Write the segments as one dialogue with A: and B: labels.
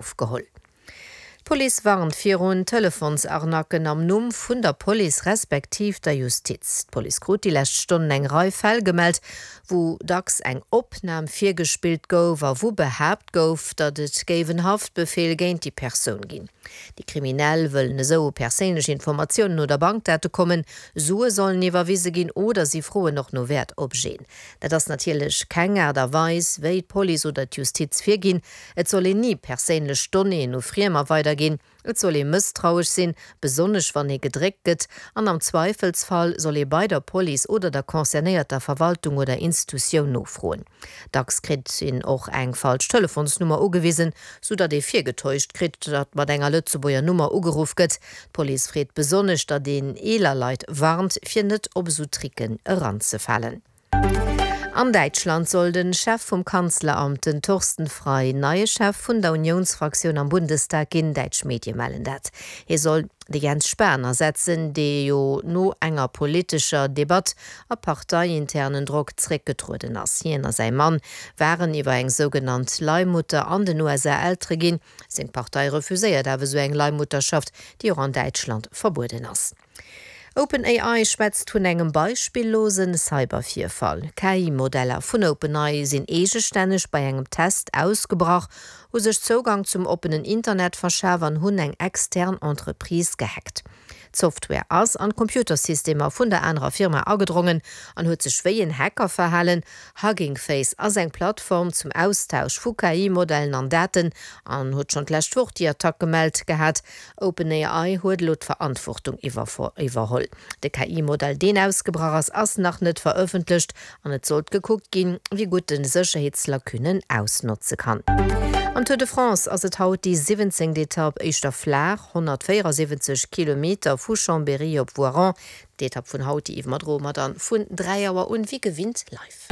A: Ofgeholl. D'Police warnt virun Telefonsarnacken am Numm vun der Police respektiv der Justiz. D'Police krut déi lescht Stonnen eng Rei Fäll gemellt, wou dacks eng Opnam virgespillt gouf a wou behaapt gouf, datt et géif en Haftbefeel géint déi Persoun ginn. Déi Kriminell wëllen esou u perséinlech Informatiounen oder Bankdate kommen, Sue sollen iwwerwise ginn oder si froen och no Wäertobjeten. Dat ass natierlech keng Aart a Weis, wéi d'Police oder d'Justiz virginn. Et soll een ni perséinlech Donnéeën u Friemer weiderginn. Et soll ee mësstrauesch sinn, besonnesch wann ee gedréckt gëtt. An am Zweifelsfall soll ee bei der Police oder der concernéierter Verwaltung oder Institutioun nofroen. Dacks kritt een och eng falsch Telefonsnummer ugewisen, sou datt ee virgetäuscht kritt, datt mat enger Lëtzebuerger Nummer ugeruff gëtt. D'Police freet besonnesch, datt een eeler Leit warnt, fir net op esou Tricken eranzefalen. An Däitschland soll de Chef vum Kanzleramt, den Thorsten Frei, neie Chef vun der Uniounsfraktioun am Bundestag ginn. Däitsch Medie mellen dat. Hie soll de Jens Spahn ersetzen, dee jo no enger politescher Debatt a parteiinternen Drock zréckgetrueden ass. Hien a säi Mann waren iwwer eng sougenannt Leihmutter an den USA Eltere ginn. Seng Partei refuséiert awer esou eng Leihmutterschaft, déi och an Däitschland verbueden ass. OpenAI schwätzt vun engem beispillose Cybervirfall. KI-Modeller vun OpenAI sinn eegestänneg bei engem Test ausgebrach, hu sech Zougang zum oppenen Internet verschaf an hunn eng extern Entreprise gehackt. D'Software ass an d'Computersystemer vun der anerer Firma agedrongen an huet sech wéi en Hacker verhalen. Hugging Face ass eng Plattform zum Austausch vu KI-Modellen an Daten an huet schonn d'lescht Woch déi Attack gemellt gehat. OpenAI huet elo d'Verantwortung iwwerholl. De KI-Modell, deen ausgebrach ass, ass nach net verëffentlecht an et sollt gekuckt ginn, wéi gutt en Sécherheetslacunen ausnotze kann. Am Tour de France ass et haut déi 17. Etapp, éischter flaach, 174 Kilometer vu Chambéry op Voiron. D'Etapp vun haut, déi iwwerdroe mer dann vun 3 Auer un, wéi gewinnt live.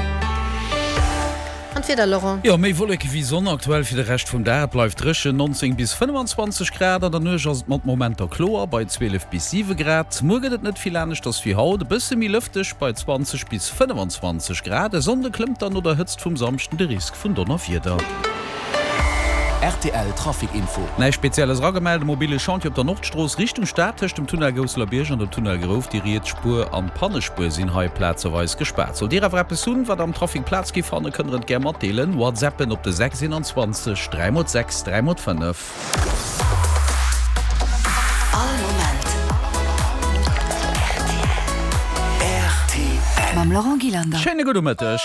A: An d'Wieder, Laurent?
B: Jo, méi Wolleke wéi Sonn aktuell fir de Rescht vum Dag. Et bleift dréchen, 19 bis 25 Grad. An der Nuecht ass et mat Momenter kloer bei 12 bis 7 Grad. Muer gëtt et net vill aneschters wéi haut, e bësse méi lëfteg bei 20 bis 25 Grad. E Sonnde klëmmt dann no der Hëtzt vum Samschden de Risk vun Donnerwieder.
C: Rtl Trafic Info.
B: Näischt Spezielles eragemellt. E mobile Chantier op der Nordstrooss Richtung Stad tëscht dem Tunnel Gousselerbierg an dem Tunnel Grouf. Déi riets Spuer an d'Pannespuer sinn hei plazeweis gespaart. Sollt Dir awer eppes hunn, wat am Trafic Plaz gi fannen, kënnt der et gär matdeelen. Whatsappen op de 6 21 3 x 6 3 x 5.
C: All Moment rtl. Mam Laurent Gillander.
B: Schéine gudde Mëtteg.